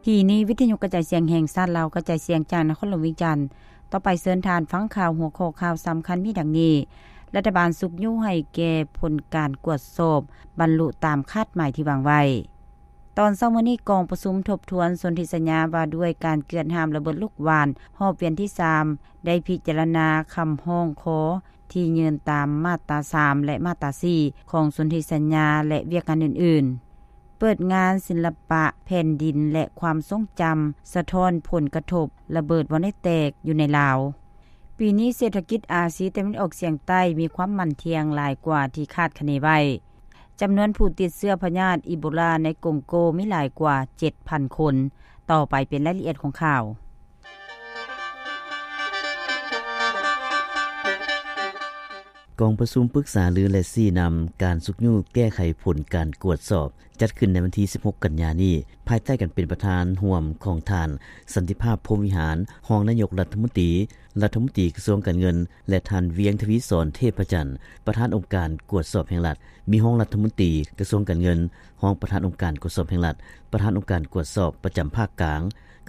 ທີ່ນີ້ ວິທະຍຸກະຈາຍສຽງແຫ່ງຊາດລາວ ກະຈາຍສຽງຈາກນະຄອນຫຼວງວຽງຈັນ. ຕໍ່ໄປເຊີນທ່ານຟັງຂ່າວ ຫົວຂໍ້ຂ່າວສຳຄັນມີດັ່ງນີ້: ລັດຖະບານຊຸກຍູ້ໃຫ້ແກ່ຜົນການກວດສອບ ບັນລຸຕາມຄາດໝາຍທີ່ວາງໄວ້. ຕອນເຊົ້າມື້ນີ້ ກອງປະຊຸມທົບທວນສົນທິສັນຍາວ່າດ້ວຍການເກືອດຫ້າມລະເບີດລູກຫວ່ານ ຮອບວຽນທີສາມ ໄດ້ພິຈາລະນາຄຳຮ້ອງຂໍທີ່ຍື່ນຕາມມາດຕາສາມ ແລະ ມາດຕາສີ່ ຂອງສົນທິສັນຍາ ແລະ ວຽກງານອື່ນໆ. ເປີດງານສິລະປະແຜ່ນດິນ ແລະ ຄວາມຊົງຈຳ ສະທ້ອນຜົນກະທົບລະເບີດວອນເນດແຕກຢູ່ໃນລາວ. ປີນີ້ເສດຖະກິດອາຊີຕາເວັນອອກສຽງໃຕ້ມີຄວາມໝັ້ນທ່ຽງຫຼາຍກວ່າທີ່ຄາດຄະເນໄວ້. ຈຳນວນຜູ້ຕິດເຊື້ອພະຍາດອີໂບລາໃນກົງໂກມີຫຼາຍກວ່າເຈັດພັນຄົນ. ຕໍ່ໄປເປັນລາຍລະອຽດຂອງຂ່າວ. ກອງປະຊຸມປຶກສາລື ແລະ ຊີ້ນຳການຊຸກຍູ້ແກ້ໄຂຜົນການກວດສອບ ຈັດຂຶ້ນໃນວັນທີສິບຫົກ ກັນຍານີ້ ພາຍໃຕ້ການເປັນປະທານຮ່ວມຂອງທ່ານ ສັນຕິພາບ ພົມວິຫານ ຮອງນາຍົກລັດຖະມົນຕີ, ລັດຖະມົນຕີກະຊວງການເງິນ ແລະ ທ່ານ ວຽງ ທະວີສອນ ເທບພະຈັນ ປະທານອົງການກວດສອບແຫ່ງລັດ, ມີຮອງລັດຖະມົນຕີກະຊວງການເງິນ, ຮອງປະທານອົງການກວດສອບແຫ່ງລັດ, ປະທານອົງການກວດສອບປະຈຳພາກກາງ,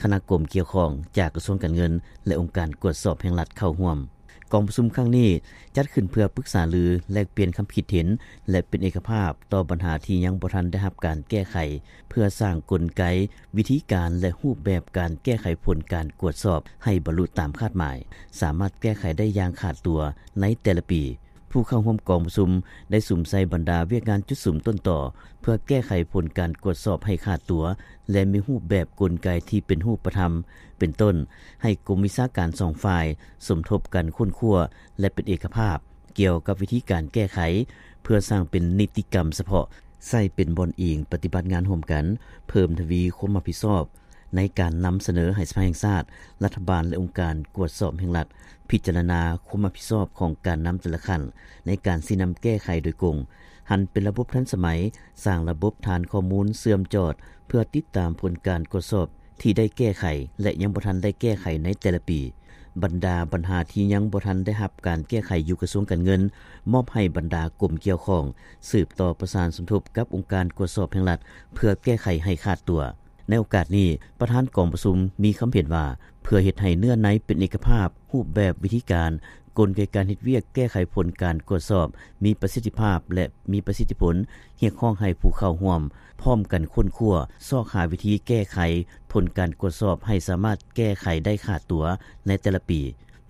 ຄະນະກົມກ່ຽວຂ້ອງຈາກກະຊວງການເງິນ ແລະ ອົງການກວດສອບແຫ່ງລັດເຂົ້າຮ່ວມ. ກອງປະຊຸມຄັ້ງນີ້ຈັດຂຶ້ນເພື່ອປຶກສາລື, ແລກປ່ຽນຄຳຄິດເຫັນ ແລະ ເປັນເອກະພາບຕໍ່ບັນຫາທີ່ຍັງບໍ່ທັນໄດ້ຮັບການແກ້ໄຂ, ເພື່ອສ້າງກົນໄກ, ວິທີການ ແລະ ຮູບແບບການແກ້ໄຂຜົນການກວດສອບໃຫ້ບັນລຸຕາມຄາດໝາຍ, ສາມາດແກ້ໄຂໄດ້ຢ່າງຂາດຕົວໃນແຕ່ລະປີ. ຜູ້ເຂົ້າຮ່ວມກອງປະຊຸມໄດ້ສຸມໃສ່ບັນດາວຽກງານຈຸດສຸມຕົ້ນຕໍ ເພື່ອແກ້ໄຂຜົນການກວດສອບໃຫ້ຂາດຕົວ ແລະ ມີຮູບແບບກົນໄກທີ່ເປັນຮູບປະທຳ, ເປັນຕົ້ນ ໃຫ້ກົມວິຊາການສອງຝ່າຍສົມທົບກັນຄົ້ນຄວ້າ ແລະ ເປັນເອກະພາບກ່ຽວກັບວິທີການແກ້ໄຂ ເພື່ອສ້າງເປັນນິຕິກຳສະເພາະ, ໃຊ້ເປັນບ່ອນອີງປະຕິບັດງານຮ່ວມກັນ, ເພີ່ມທະວີຄວາມຮັບຜິດຊອບໃນການນຳສະເໜີໃຫ້ສະພາແຫ່ງຊາດ, ລັດຖະບານ ແລະ ອົງການກວດສອບແຫ່ງລັດ ພິຈາລະນາຄວາມຮັບຜິດຊອບຂອງການນຳແຕ່ລະຂັ້ນໃນການຊີ້ນຳແກ້ໄຂໂດຍກົງ, ຫັນເປັນລະບົບທັນສະໄໝ, ສ້າງລະບົບຖານຂໍ້ມູນເຊື່ອມຈອດ ເພື່ອຕິດຕາມຜົນການກວດສອບ ທີ່ໄດ້ແກ້ໄຂ ແລະ ຍັງບໍ່ທັນໄດ້ແກ້ໄຂໃນແຕ່ລະປີ. ບັນດາບັນຫາທີ່ຍັງບໍ່ທັນໄດ້ຮັບການແກ້ໄຂຢູ່ກະຊວງການເງິນ ມອບໃຫ້ບັນດາກົມກ່ຽວຂ້ອງ ສືບຕໍ່ປະສານສົມທົບກັບອົງການກວດສອບແຫ່ງລັດ ເພື່ອແກ້ໄຂໃຫ້ຂາດຕົວ. ໃນໂອກາດນີ້, ປະທານກອງປະຊຸມມີຄຳເຫັນວ່າ ເພື່ອເຮັດໃຫ້ເນື້ອໃນເປັນເອກະພາບ, ຮູບແບບ, ວິທີການ, ກົນໄກການເຮັດວຽກແກ້ໄຂຜົນການກວດສອບມີປະສິດທິພາບ ແລະ ມີປະສິດທິຜົນ, ຮຽກຮ້ອງໃຫ້ຜູ້ເຂົ້າຮ່ວມພ້ອມກັນຄົ້ນຄວ້າ, ຊອກຫາວິທີແກ້ໄຂຜົນການກວດສອບໃຫ້ສາມາດແກ້ໄຂໄດ້ຂາດຕົວໃນແຕ່ລະປີ,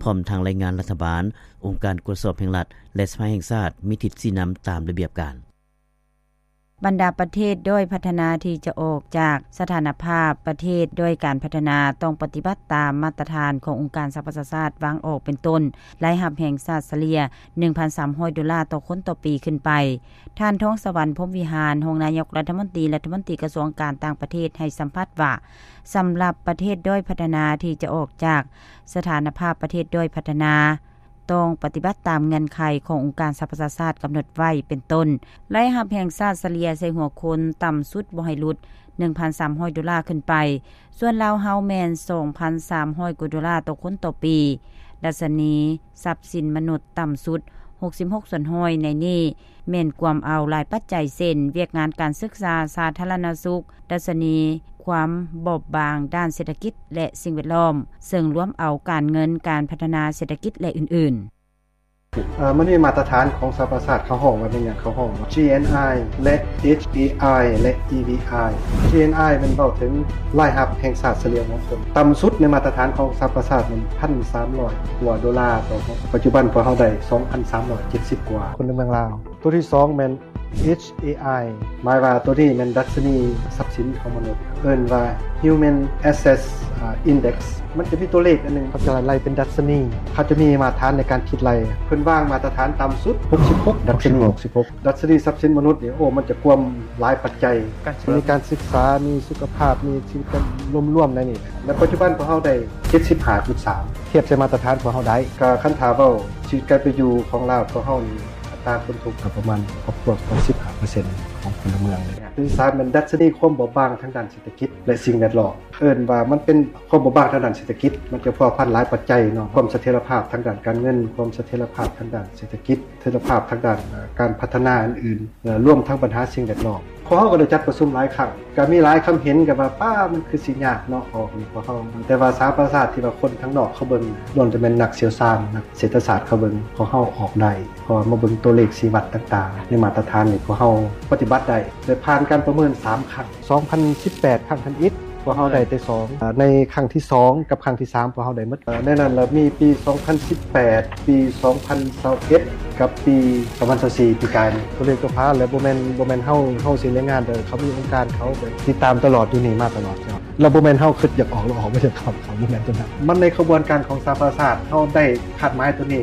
ພ້ອມທັງລາຍງານລັດຖະບານ, ອົງການກວດສອບແຫ່ງລັດ ແລະ ສະພາແຫ່ງຊາດມີທິດຊີ້ນຳຕາມລະບຽບການ. ບັນດາປະເທດດ້ອຍພັດທະນາທີ່ຈະອອກຈາກສະຖານະພາບປະເທດດ້ອຍການພັດທະນາ ຕ້ອງປະຕິບັດຕາມມາດຕະຖານຂອງອົງການສະຫະປະຊາຊາດວາງອອກ ເປັນຕົ້ນ ລາຍຮັບແຫ່ງຊາດສະເລ່ຍ ໜຶ່ງພັນສາມຮ້ອຍໂດລາຕໍ່ຄົນຕໍ່ປີຂຶ້ນໄປ. ທ່ານ ທອງສະຫວັນ ພົມວິຫານ ຮອງນາຍົກລັດຖະມົນຕີ, ລັດຖະມົນຕີກະຊວງການຕ່າງປະເທດ ໃຫ້ສຳພາດວ່າ ສຳລັບປະເທດດ້ອຍພັດທະນາທີ່ຈະອອກຈາກສະຖານະພາບປະເທດດ້ອຍພັດທະນາ ຕ້ອງປະຕິບັດຕາມເງື່ອນໄຂຂອງອົງການສະຫະປະຊາຊາດກຳນົດໄວ້ ເປັນຕົ້ນ ລາຍຮັບແຫ່ງຊາດສະເລ່ຍໃສ່ຫົວຄົນຕ່ຳສຸດບໍ່ໃຫ້ຫຼຸດ ໜຶ່ງພັນສາມຮ້ອຍໂດລາຂຶ້ນໄປ, ສ່ວນລາວເຮົາແມ່ນ ສອງພັນສາມຮ້ອຍກວ່າໂດລາຕໍ່ຄົນຕໍ່ປີ, ດັດຊະນີຊັບສິນມະນຸດຕ່ຳສຸດ ຫົກສິບຫົກສ່ວນຮ້ອຍ ໃນນີ້ແມ່ນກວມເອົາຫຼາຍປັດໄຈ ເຊັ່ນ ວຽກງານການສຶກສາ, ສາທາລະນະສຸກ, ດັດຊະນີຄວາມບອບບາງດ້ານເສດຖະກິດ ແລະ ສິ່ງແວດລ້ອມ, ເຊິ່ງລວມເອົາການເງິນ, ການພັດທະນາເສດຖະກິດ ແລະ ອື່ນໆ. ເອີ ມັນມີມາດຕະຖານຂອງສະຫະປະຊາຊາດ ເຂົາຮ້ອງວ່າແມ່ນຫຍັງ? ເຂົາຮ້ອງວ່າ GNI ແລະ HAI ແລະ EVI. GNI ແມ່ນເວົ້າເຖິງລາຍຮັບແຫ່ງຊາດສະເລ່ຍຂອງຄົນ ຕ່ຳສຸດໃນມາດຕະຖານຂອງສະຫະປະຊາຊາດນັ້ນ ໜຶ່ງພັນສາມຮ້ອຍກວ່າໂດລາຕໍ່ຄົນ, ປັດຈຸບັນພວກເຮົາໄດ້ ສອງພັນສາມຮ້ອຍເຈັດສິບກວ່າຄົນໃນເມືອງລາວ. ຕົວທີສອງແມ່ນ HAI ໝາຍວ່າຕົວນີ້ແມ່ນດັດຊະນີຊັບສິນຂອງມະນຸດ ເອີ້ນວ່າ Human Assets Index. ມັນຈະມີຕົວເລກອັນໜຶ່ງ ເຂົາຈະໄລ່ເປັນດັດຊະນີ, ເຂົາຈະມີມາດຕະຖານໃນການຄິດໄລ່. ເພິ່ນວາງມາດຕະຖານຕ່ຳສຸດ ຫົກສິບຫົກ ດັດຊະນີ ຫົກສິບຫົກ. ດັດຊະນີຊັບສິນມະນຸດນີ້ ໂອ້ ມັນຈະກວມຫຼາຍປັດໄຈ, ມີການສຶກສາ, ມີສຸຂະພາບ, ມີຊີວິດການລວມໆໃນນີ້. ແລະ ປັດຈຸບັນພວກເຮົາໄດ້ ເຈັດສິບຫ້າຈຸດສາມ ທຽບໃສ່ມາດຕະຖານພວກເຮົາໄດ້. ກໍຄັນຖ້າເວົ້າຊີວິດການເປັນຢູ່ຂອງລາວພວກເຮົານີ້ ອັດຕາຄົນທຸກກໍປະມານຄອບຄົວປະມານສິບຫ້າເປີເຊັນຂອງພົນລະເມືອງ. ທີສາມແມ່ນດັດຊະນີຄວາມບອບບາງທາງດ້ານເສດຖະກິດ ແລະ ສິ່ງແວດລ້ອມ. ເອີ້ນວ່າມັນເປັນຄວາມບອບບາງທາງດ້ານເສດຖະກິດ, ມັນຈະພົວພັນຫຼາຍປັດໄຈເນາະ, ຄວາມສະຖຽນລະພາບທາງດ້ານການເງິນ, ຄວາມສະຖຽນລະພາບທາງດ້ານເສດຖະກິດ, ສະຖຽນລະພາບທາງດ້ານ ເອີ ການພັດທະນາອື່ນໆ, ເອີ ລວມທັງບັນຫາສິ່ງແວດລ້ອມ. ຄ ວກເຮົາກໍໄດ້ຈັດປະຊຸມຫຼາຍຄັ້ງ ກໍມີຫຼາຍຄຳເຫັນກັນວ່າ ປ້າ ມັນຄືຊິຍາກເນາະ ອອກນີ້ພວກເຮົາ ແຕ່ວ່າສະຫະປະຊາຊາດທີ່ວ່າຄົນທາງນອກເຂົາເບິ່ງ ລ້ວນແຕ່ແມ່ນນັກຊ່ຽວຊານ ນັກເສດຖະສາດເຂົາເບິ່ງ ພວກເຮົາອອກໄດ້ ເພາະວ່າມາເບິ່ງຕົວເລກຊີ້ວັດຕ່າງໆ ໃນມາດຕະຖານນີ້ ພວກເຮົາປະຕິບັດໄດ້ ໄດ້ຜ່ານການປະເມີນສາມຄັ້ງ ສອງພັນສິບແປດ ຄັ້ງທຳອິດ ພວກເຮົາໄດ້ແຕ່ສອງ ອາ ໃນຄັ້ງທີສອງກັບຄັ້ງທີສາມ ພວກເຮົາໄດ້ໝົດ ໃນນັ້ນລະມີປີສອງພັນສິບແປດ ປີສອງພັນຊາວເອັດ ກັບປີສອງພັນຊາວສີ່ ປີກາຍນີ້ ຕົວເລກຕົວພາ ແລະ ບໍ່ແມ່ນ ບໍ່ແມ່ນເຮົາ ເຮົາຊິລາຍງານເດີ ເຂົາມີອົງການເຂົາ ແບບຕິດຕາມຕະຫຼອດ ຢູ່ນີ້ມາຕະຫຼອດ ແລ້ວບໍ່ແມ່ນເຮົາຄິດຢາກອອກ ແລ້ວອອກມາຈາກເຂົາ ບໍ່ແມ່ນຕົວນັ້ນ ມັນໃນຂະບວນການຂອງສະຫະປະຊາຊາດ ເຮົາໄດ້ຄາດໝາຍຕົວນີ້.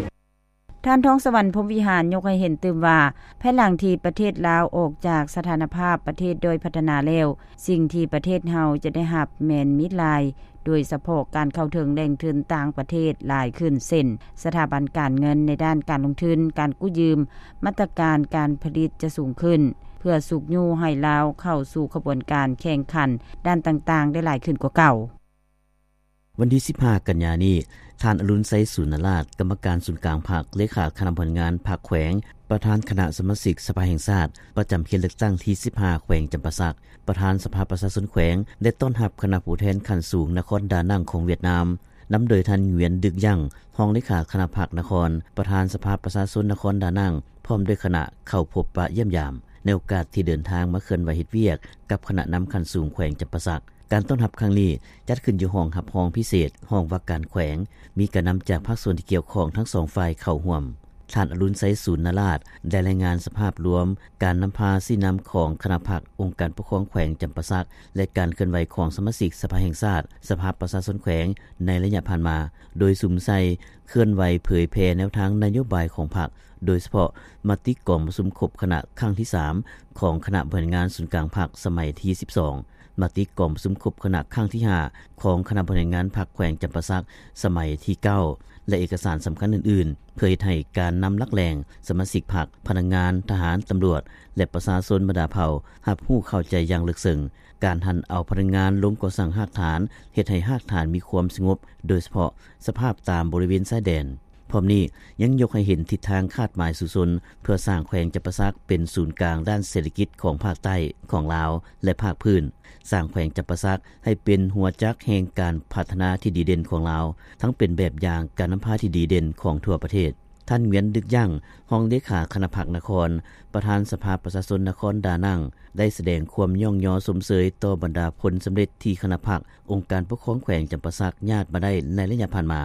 ທ່ານ ທອງສະຫວັນ ພົມວິຫານ ຍົກໃຫ້ເຫັນຕື່ມວ່າ ພາຍຫຼັງທີ່ປະເທດລາວອອກຈາກສະຖານະພາບປະເທດດ້ອຍພັດທະນາແລ້ວ, ສິ່ງທີ່ປະເທດເຮົາຈະໄດ້ຮັບແມ່ນມີຫຼາຍ, ໂດຍສະເພາະການເຂົ້າເຖິງແຫຼ່ງທຶນຕ່າງປະເທດຫຼາຍຂຶ້ນ ເຊັ່ນ ສະຖາບັນການເງິນໃນດ້ານການລົງທຶນ, ການກູ້ຢືມ, ມາດຕະການການຜະລິດຈະສູງຂຶ້ນ ເພື່ອຊຸກຍູ້ໃຫ້ລາວເຂົ້າສູ່ຂະບວນການແຂ່ງຂັນດ້ານຕ່າງໆໄດ້ຫຼາຍຂຶ້ນກວ່າເກົ່າ. ວັນທີສິບຫ້າ ກັນຍານີ້, ທ່ານ ອະລຸນໄຊ ສູນນະລາດ ກຳມະການສູນກາງພັກ, ເລຂາຄະນະບໍລິຫານງານພັກແຂວງ, ປະທານຄະນະສະມາຊິກສະພາແຫ່ງຊາດ ປະຈຳເຂດເລືອກຕັ້ງທີສິບຫ້າ ແຂວງຈຳປາສັກ, ປະທານສະພາປະຊາຊົນແຂວງ ແລະ ຕ້ອນຮັບຄະນະຜູ້ແທນຂັ້ນສູງນະຄອນດານັງຂອງຫວຽດນາມ, ນຳໂດຍທ່ານ ຫງວຽນ ດຶກຢັງ ຮອງເລຂາຄະນະພັກນະຄອນ, ປະທານສະພາປະຊາຊົນນະຄອນດານັງ ພ້ອມດ້ວຍຄະນະເຂົ້າພົບປະຢ້ຽມຢາມ ໃນໂອກາດທີ່ເດີນທາງມາເຄື່ອນໄຫວເຮັດວຽກກັບຄະນະນຳຂັ້ນສູງແຂວງຈຳປາສັກ. ການຕ້ອນຮັບຄັ້ງນີ້ຈັດຂຶ້ນຢູ່ຫ້ອງຮັບຮອງພິເສດ ຫ້ອງວ່າການແຂວງ, ມີການນຳຈາກພາກສ່ວນທີ່ກ່ຽວຂ້ອງທັງສອງຝ່າຍເຂົ້າຮ່ວມ. ທ່ານ ອະລຸນໄຊ ສູນນະລາດ ໄດ້ລາຍງານສະພາບລວມການນຳພາຊີ້ນຳຂອງຄະນະພັກ, ອົງການປົກຄອງແຂວງຈຳປາສັກ ແລະ ການເຄື່ອນໄຫວຂອງສະມາຊິກສະພາແຫ່ງຊາດ, ສະພາປະຊາຊົນແຂວງໃນໄລຍະຜ່ານມາ, ໂດຍສຸມໃສ່ເຄື່ອນໄຫວເຜີຍແຜ່ແນວທາງນະໂຍບາຍຂອງພັກ, ໂດຍສະເພາະມະຕິກອງປະຊຸມຄົບຄະນະຄັ້ງທີສາມ ຂອງຄະນະບໍລິຫານງານສູນກາງພັກສະໄໝທີສິບສອງ, ມະຕິກອງປະຊຸມຄົບຄະນະຄັ້ງທີຫ້າ ຂອງຄະນະບໍລິຫານງານພັກແຂວງຈຳປາສັກສະໄໝທີເກົ້າ ແລະ ເອກະສານສຳຄັນອື່ນໆ ເພື່ອເຮັດໃຫ້ການນຳຫຼັກແຫຼ່ງ, ສະມາຊິກພັກ, ພະນັກງານ, ທະຫານ, ຕຳຫຼວດ ແລະ ປະຊາຊົນບັນດາເຜົ່າ ຮັບຮູ້ເຂົ້າໃຈຢ່າງເລິກເຊິ່ງ. ການຫັນເອົາພະນັກງານລົງກໍ່ສ້າງຮາກຖານ ເຮັດໃຫ້ຮາກຖານມີຄວາມສະຫງົບ, ໂດຍສະເພາະສະພາບຕາມບໍລິເວນຊາຍແດນ. ພ້ອມນີ້ຍັງຍົກໃຫ້ເຫັນທິດທາງຄາດໝາຍສູ້ຊົນ ເພື່ອສ້າງແຂວງຈຳປາສັກເປັນສູນກາງດ້ານເສດຖະກິດຂອງພາກໃຕ້ຂອງລາວ ແລະ ພາກພື້ນ, ສ້າງແຂວງຈຳປາສັກໃຫ້ເປັນຫົວຈັກແຫ່ງການພັດທະນາທີ່ດີເດັ່ນຂອງລາວ, ທັງເປັນແບບຢ່າງການນຳພາທີ່ດີເດັ່ນຂອງທົ່ວປະເທດ. ທ່ານ ຫງວຽນ ດຶກຢັງ ຮອງເລຂາຄະນະພັກນະຄອນ, ປະທານສະພາປະຊາຊົນນະຄອນດານັງ ໄດ້ສະແດງຄວາມຍ້ອງຍໍຊົມເຊີຍຕໍ່ບັນດາຜົນສຳເລັດທີ່ຄະນະພັກ, ອົງການປົກຄອງແຂວງຈຳປາສັກຍາດມາໄດ້ໃນໄລຍະຜ່ານມາ.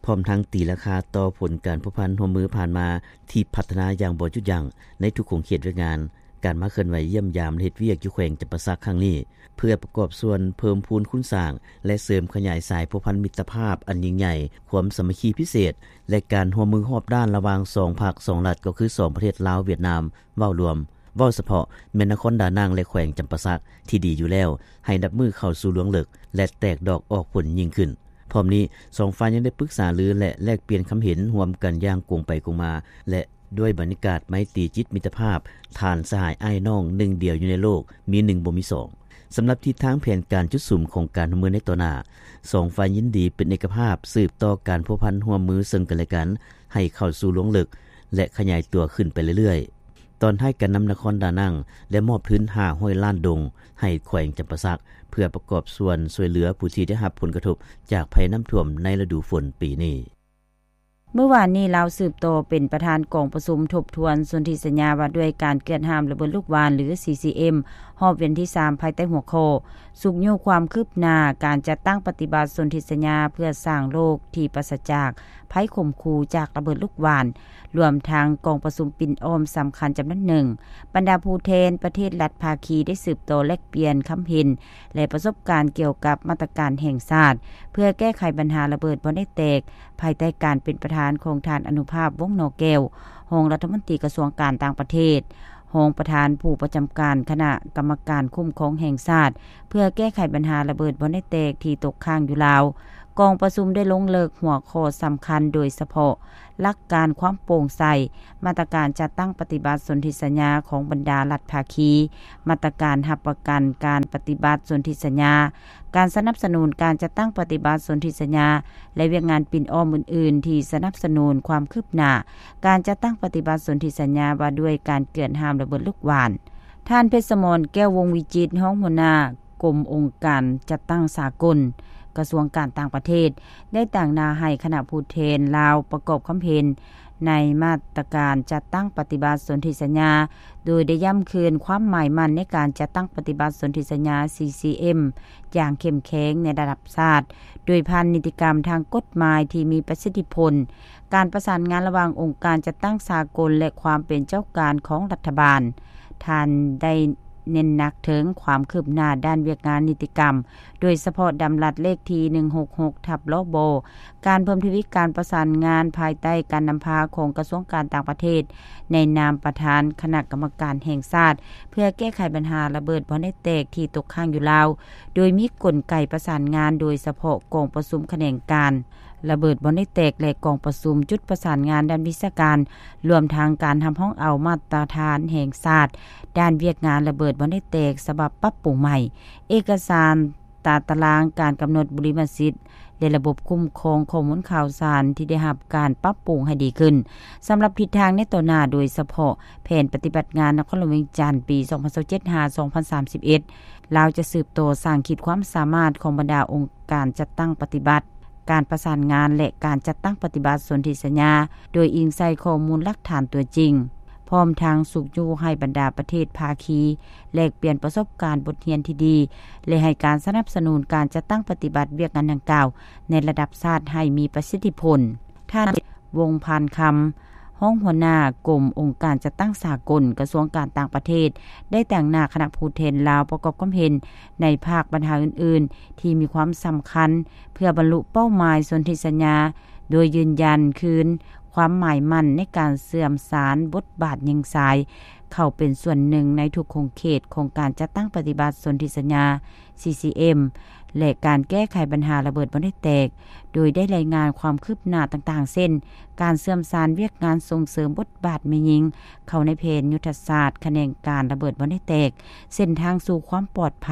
ພ້ອມທັງຕີລາຄາຕໍ່ຜົນການພົວພັນຮ່ວມມືຜ່ານມາທີ່ພັດທະນາຢ່າງບໍ່ຢຸດຢັ້ງໃນທຸກຂົງເຂດວຽກງານ. ການມາເຄື່ອນໄຫວຢ້ຽມຢາມ ແລະ ເຮັດວຽກຢູ່ແຂວງຈຳປາສັກຄັ້ງນີ້ ເພື່ອປະກອບສ່ວນເພີ່ມພູນຄູນສ້າງ ແລະ ເສີມຂະຫຍາຍສາຍພົວພັນມິດຕະພາບອັນຍິ່ງໃຫຍ່, ຄວາມສາມັກຄີພິເສດ ແລະ ການຮ່ວມມືຮອບດ້ານລະຫວ່າງສອງພັກສອງລັດ ກໍຄືສອງປະເທດລາວ-ຫວຽດນາມ ເວົ້າລວມ, ເວົ້າສະເພາະແມ່ນນະຄອນດານັງ ແລະ ແຂວງຈຳປາສັກ ທີ່ດີຢູ່ແລ້ວ ໃຫ້ນັບມື້ເຂົ້າສູ່ລວງເລິກ ແລະ ແຕກດອກອອກຜົນຍິ່ງຂຶ້ນ. ພ້ອມນີ້, ສອງຝ່າຍຍັງໄດ້ປຶກສາລື ແລະ ແລກປ່ຽນຄຳເຫັນຮ່ວມກັນຢ່າງກົງໄປກົງມາ ແລະ ດ້ວຍບັນຍາກາດໄມຕີຈິດມິດຕະພາບ, ທ່ານສະຫາຍອ້າຍນ້ອງໜຶ່ງດຽວຢູ່ໃນໂລກ, ມີໜຶ່ງບໍ່ມີສອງ. ສຳລັບທິດທາງແຜນການຈຸດສຸມຂອງການຮ່ວມມືໃນຕໍ່ໜ້າ, ສອງຝ່າຍຍິນດີເປັນເອກະພາບສືບຕໍ່ການພົວພັນຮ່ວມມືເຊິ່ງກັນແລະກັນ ໃຫ້ເຂົ້າສູ່ລວງເລິກ ແລະ ຂະຫຍາຍຕົວຂຶ້ນໄປເລື້ອຍໆ. ຕອນທ້າຍການນຳນະຄອນດານັງໄດ້ມອບທຶນຫ້າຮ້ອຍລ້ານດົງໃຫ້ແຂວງຈຳປາສັກ ເພື່ອປະກອບສ່ວນຊ່ວຍເຫຼືອຜູ້ທີ່ໄດ້ຮັບຜົນກະທົບຈາກໄພນ້ຳຖ້ວມໃນລະດູຝົນປີນີ້. ມື້ວານນີ້ ລາວສືບຕໍ່ເປັນປະທານກອງປະຊຸມທົບທວນສົນທິສັນຍາວ່າດ້ວຍການເກືອດຫ້າມລະເບີດລູກຫວ່ານ ຫຼື CCM ຮອບວຽນທີສາມ ພາຍໃຕ້ຫົວຂໍ້ ຊຸກຍູ້ຄວາມຄືບໜ້າການຈັດຕັ້ງປະຕິບັດສົນທິສັນຍາເພື່ອສ້າງໂລກທີ່ປາສະຈາກໄພຂົ່ມຂູ່ຈາກລະເບີດລູກຫວ່ານ, ລວມທັງກອງປະຊຸມປິ່ນອ້ອມສຳຄັນຈຳນວນໜຶ່ງ. ບັນດາຜູ້ແທນປະເທດລັດພາຄີໄດ້ສືບຕໍ່ແລກປ່ຽນຄຳເຫັນ ແລະ ປະສົບການກ່ຽວກັບມາດຕະການແຫ່ງຊາດ ເພື່ອແກ້ໄຂບັນຫາລະເບີດບ່ອນໄດ້ແຕກ ພາຍໃຕ້ການເປັນປະທານຂອງທ່ານ ອະນຸພາບ ວົງໜໍແກ້ວ ຮອງລັດຖະມົນຕີກະຊວງການຕ່າງປະເທດ, ຮອງປະທານຜູ້ປະຈຳການຄະນະກຳມະການຄຸ້ມຄອງແຫ່ງຊາດ ເພື່ອແກ້ໄຂບັນຫາລະເບີດບ່ອນໄດ້ແຕກທີ່ຕົກຄ້າງຢູ່ລາວ. ກອງປະຊຸມໄດ້ລົງເລິກຫົວຂໍ້ສຳຄັນ ໂດຍສະເພາະຫຼັກການຄວາມໂປ່ງໃສ, ມາດຕະການຈັດຕັ້ງປະຕິບັດສົນທິສັນຍາຂອງບັນດາລັດພາຄີ, ມາດຕະການຮັບປະກັນການປະຕິບັດສົນທິສັນຍາ, ການສະໜັບສະໜູນການຈັດຕັ້ງປະຕິບັດສົນທິສັນຍາ ແລະ ວຽກງານປິ່ນອ້ອມອື່ນໆ ທີ່ສະໜັບສະໜູນຄວາມຄືບໜ້າການຈັດຕັ້ງປະຕິບັດສົນທິສັນຍາວ່າດ້ວຍການເກືອດຫ້າມລະເບີດລູກຫວ່ານ. ທ່ານ ເພັດສະໝອນ ແກ້ວວົງວິຈິດ ຮອງຫົວໜ້າກົມອົງການຈັດຕັ້ງສາກົນ ກະຊວງການຕ່າງປະເທດ ໄດ້ຕາງໜ້າໃຫ້ຄະນະຜູ້ແທນລາວປະກອບຄວາມເຫັນໃນມາດຕະການຈັດຕັ້ງປະຕິບັດສົນທິສັນຍາ, ໂດຍໄດ້ຢ້ຳຄືນຄວາມໝາຍໝັ້ນໃນການຈັດຕັ້ງປະຕິບັດສົນທິສັນຍາ ຊີຊີເອັມ ຢ່າງເຂັ້ມແຂງໃນລະດັບຊາດ, ໂດຍຜ່ານນິຕິກຳທາງກົດໝາຍທີ່ມີປະສິດທິຜົນ, ການປະສານງານລະຫວ່າງອົງການຈັດຕັ້ງສາກົນ ແລະ ຄວາມເປັນເຈົ້າການຂອງລັດຖະບານ. ທ່ານໄດ້ເນັ້ນໜັກເຖິງຄວາມຄືບໜ້າດ້ານວຽກງານນິຕິກຳ, ໂດຍສະເພາະດຳລັດເລກທີ ໜຶ່ງຫົກຫົກ ທັບ ລບ ການເພີ່ມທະວີການປະສານງານພາຍໃຕ້ການນຳພາຂອງກະຊວງການຕ່າງປະເທດ ໃນນາມປະທານຄະນະກຳມະການແຫ່ງຊາດ ເພື່ອແກ້ໄຂບັນຫາລະເບີດບໍ່ໄດ້ແຕກທີ່ຕົກຄ້າງຢູ່ລາວ, ໂດຍມີກົນໄກປະສານງານ ໂດຍສະເພາະກອງປະຊຸມຂະແໜງການລະເບີດບໍ່ໄດ້ແຕກ ແລະ ກອງປະຊຸມຈຸດປະສານງານດ້ານວິຊາການ, ລວມທັງການຮັບຮອງເອົາມາດຕະຖານແຫ່ງຊາດດ້ານວຽກງານລະເບີດບໍ່ໄດ້ແຕກ ສະບັບປັບປຸງໃໝ່, ເອກະສານ ຕາຕະລາງການກຳນົດບຸລິມະສິດ ແລະ ລະບົບຄຸ້ມຄອງຂໍ້ມູນຂ່າວສານທີ່ໄດ້ຮັບການປັບປຸງໃຫ້ດີຂຶ້ນ. ສຳລັບທິດທາງໃນຕໍ່ໜ້າ, ໂດຍສະເພາະແຜນປະຕິບັດງານນະຄອນຫຼວງວຽງຈັນ ປີສອງພັນຊາວເຈັດ ຫາ ສອງພັນສາມສິບເອັດ, ລາວຈະສືບຕໍ່ສ້າງຂີດຄວາມສາມາດຂອງບັນດາອົງການຈັດຕັ້ງປະຕິບັດ, ການປະສານງານ ແລະ ການຈັດຕັ້ງປະຕິບັດສົນທິສັນຍາ, ໂດຍອີງໃສ່ຂໍ້ມູນຫຼັກຖານຕົວຈິງ. ພ້ອມທັງຊຸກຍູ້ໃຫ້ບັນດາປະເທດພາຄີແລກປ່ຽນປະສົບການບົດຮຽນທີ່ດີ ແລະ ໃຫ້ການສະໜັບສະໜູນການຈັດຕັ້ງປະຕິບັດວຽກງານດັ່ງກ່າວໃນລະດັບຊາດໃຫ້ມີປະສິດທິຜົນ. ທ່ານ ວົງພານຄຳ, ຮອງຫົວໜ້າກົມອົງການຈັດຕັ້ງສາກົນ ກະຊວງການຕ່າງປະເທດ ໄດ້ຕາງໜ້າຄະນະຜູ້ແທນລາວປະກອບຄວາມເຫັນໃນພາກບັນຫາອື່ນໆ ທີ່ມີຄວາມສຳຄັນ ເພື່ອບັນລຸເປົ້າໝາຍສົນທິສັນຍາ, ໂດຍຢືນຢັນຄືນຄວາມໝາຍໝັ້ນໃນການເຊື່ອມສານບົດບາດຍິງຊາຍ ເຂົ້າເປັນສ່ວນໜຶ່ງໃນທຸກຂົງເຂດຂອງການຈັດຕັ້ງປະຕິບັດສົນທິສັນຍາ ຊີຊີເອັມ ແລະ ການແກ້ໄຂບັນຫາລະເບີດບໍ່ໄດ້ແຕກ, ໂດຍໄດ້ລາຍງານຄວາມຄືບໜ້າຕ່າງໆ ເຊັ່ນ ການເຊື່ອມສານວຽກງານສົ່ງເສີມບົດບາດແມ່ຍິງເຂົ້າໃນແຜນຍຸດທະສາດຂະແໜງການລະເບີດບໍ່ໄດ້ແຕກ, ເສັ້ນທາງສູ່ຄວາມປອດໄພ,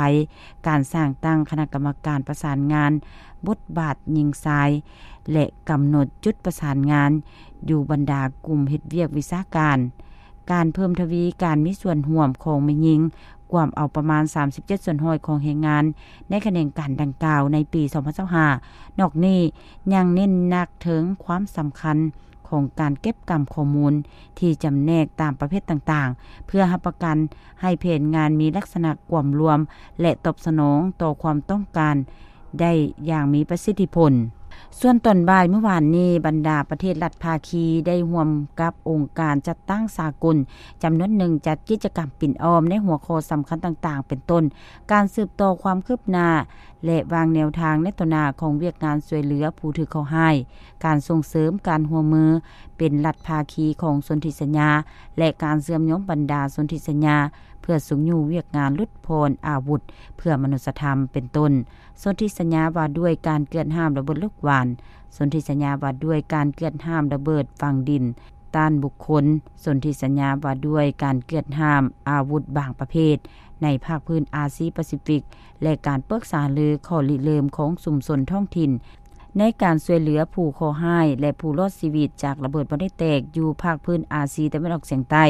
ການສ້າງຕັ້ງຄະນະກຳມະການປະສານງານ ບົດບາດຍິງຊາຍ ແລະ ກຳນົດຈຸດປະສານງານຢູ່ບັນດາກຸ່ມເຮັດວຽກວິຊາການ, ການເພີ່ມທະວີການມີສ່ວນຮ່ວມຂອງແມ່ຍິງ, ກວມເອົາປະມານສາມສິບເຈັດສ່ວນຮ້ອຍຂອງແຮງງານໃນຂະແໜງການດັ່ງກ່າວໃນປີສອງພັນຊາວຫ້າ. ນອກນີ້ຍັງເນັ້ນໜັກເຖິງຄວາມສຳຄັນຂອງການເກັບກຳຂໍ້ມູນທີ່ຈຳແນກຕາມປະເພດຕ່າງໆ ເພື່ອຮັບປະກັນໃຫ້ແຜນງານມີລັກສະນະກວມລວມ ແລະ ຕອບສະໜອງຕໍ່ຄວາມຕ້ອງການ ໄດ້ຢ່າງມີປະສິດທິຜົນ. ສ່ວນຕອນບ່າຍມື້ວານນີ້, ບັນດາປະເທດລັດພາຄີໄດ້ຮ່ວມກັບອົງການຈັດຕັ້ງສາກົນຈຳນວນໜຶ່ງ ຈັດກິດຈະກຳປິ່ນອ້ອມໃນຫົວຂໍ້ສຳຄັນຕ່າງໆ ເປັນຕົ້ນ ການສືບຕໍ່ຄວາມຄືບໜ້າ ແລະ ວາງແນວທາງໃນຕໍ່ໜ້າຂອງວຽກງານຊ່ວຍເຫຼືອຜູ້ຖືກເຄາະຮ້າຍ, ການສົ່ງເສີມການຮ່ວມມືເປັນລັດພາຄີຂອງສົນທິສັນຍາ ແລະ ການເຊື່ອມໂຍງບັນດາສົນທິສັນຍາ ເພື່ອຊຸກຍູ້ວຽກງານຫຼຸດຜ່ອນອາວຸດເພື່ອມະນຸດສະທຳ ເປັນຕົ້ນ ສົນທິສັນຍາວ່າດ້ວຍການເກືອດຫ້າມລະເບີດລູກຫວ່ານ, ສົນທິສັນຍາວ່າດ້ວຍການເກືອດຫ້າມລະເບີດຝັງດິນຕ້ານບຸກຄົນ, ສົນທິສັນຍາວ່າດ້ວຍການເກືອດຫ້າມອາວຸດບາງປະເພດໃນພາກພື້ນອາຊີປາຊີຟິກ ແລະ ການປຶກສາຫາລືຂໍ້ລິເລີ່ມຂອງຊຸມຊົນທ້ອງຖິ່ນ ໃນການຊ່ວຍເຫຼືອຜູ້ເຄາະຮ້າຍ ແລະ ຜູ້ລອດຊີວິດຈາກລະເບີດບໍ່ໄດ້ແຕກຢູ່ພາກພື້ນອາຊີຕາເວັນອອກສຽງໃຕ້.